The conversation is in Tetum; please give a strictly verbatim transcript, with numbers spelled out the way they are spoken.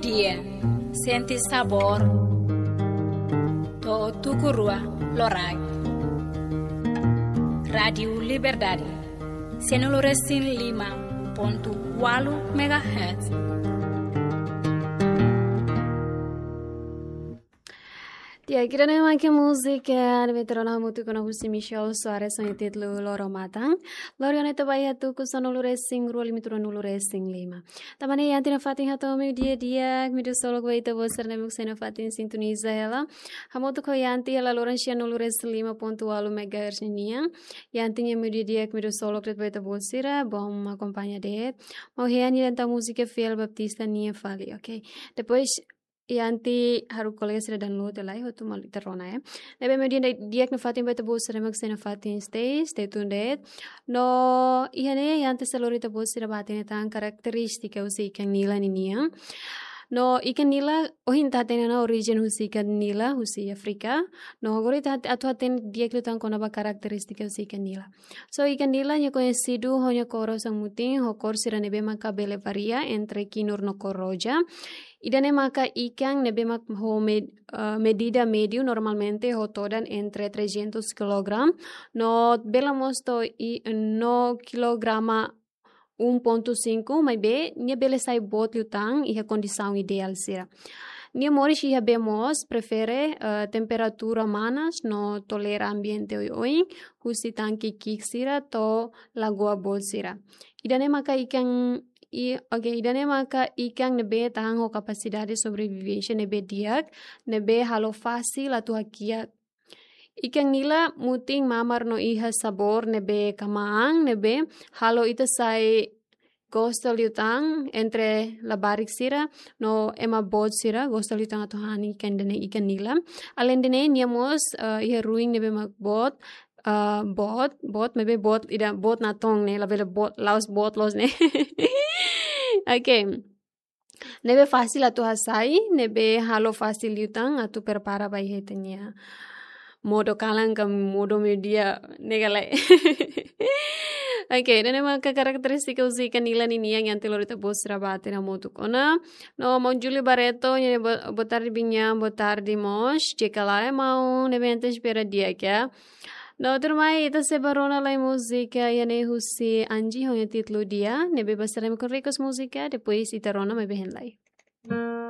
Dia, sente sabór. To'o tuku rua loraik. Rádiu Liberdade, sianulu resin lima pontu ualu megahertz. Di'ak, ida-ne'e mak múzika ne'ebé ita rona hamutuk ona husi Michel Soares ho nia títulu Loro Matan. Lori ona ita ba iha tuku sanulu resin rua limite ruanulu resin lima. Tanba ne'e iha tiha ona fatin hato'o meiudia di'ak, imi ksolok ba ita-boot sira ne'ebé mak sai iha fatin sintoniza hela. Hamutuk ho Yanti hela loron sianulu resin lima pontu ualu megahertz ninian. Yanti nia meiudia di'ak imi ksolok de'it ba ita-boot sira, bom akompaña de'it. Maun Hean nia atu múzika Fiel Baptista nian fali, oke. Depois Yanti halo kolega sira download lai, hotu malu ita rona, eh. Ne'ebé meiudia di'ak nafatin ba ita-boot sira ne'ebé mak sai nafatin stay, stay tuned de'it. No, iha ne'e Yanti sei lori ita-boot sira ba hatene tan karakterístika husi ikan nila ninian. No, ikan nila, ohin ita hatene ona orijen husi ikan nila, husi Áfrika. No, agora ita hat-, atu hatene di'ak liután kona-ba karakterístika husi ikan nila. So, ikan nila nia koñesidu ho nia kór osan-mutin, ho kór sira ne'ebé maka bele varia entre kinur no kór roja. Ida-ne'e maka ikan ne'ebé mak ho med-, eh, medida médiu normalmente ho todan entre trezentos kilogramu, no bele mós to'o i-, no kilograma um ponto cinco, maibé nia bele sai boot liután iha kondisaun ideál sira. Nia moris iha bee moos, prefere, eh, temperatura manas no tolera ambiente oioin, husi tanke ki'ik sira to'o lagoa boot sira. Ida-ne'e maka ikan i-, oke, ida-ne'e maka ikan ne'ebé tahan ho kapasidade sobrevivénsia ne'ebé di'ak, ne'ebé halo fasil atu hakiak. Ikan nila mutin mamar no iha sabór ne'ebé kmaan, ne'ebé halo ita sai gosta liután entre labarik sira, no ema boot sira gosta liután atu han ikan ida-ne'e ikan nila. Alende ne'e nia mós, eh, iha ruin ne'ebé mak boot, eh, boot, boot, maibé boot, ida boot natoon ne'e, labele boot, la'ós boot loos ne'e. Oke. Ne'ebé fasil atu hasai, ne'ebé halo fasil liután atu prepara ba iha ita-nia modo kalan ka modo meiudia ne'e ka lae. Oke, ida-ne'e maka karakterístika husi ikan nila ninian Yanti lori ita-boot sira ba hatene hamutuk ona. No, maun Júlio Barreto, nia bo-, boa tarde, binya, boa tarde, mós. Jika lae, maun, ne'ebé ita espera di'ak. No, tuirmai, ita sei ba rona lai múzika, iha ne'e husi Angie, ho nia títulu Dia, ne'ebé ba sira ne'ebé mak request múzika, depois ita rona maibé hein lai.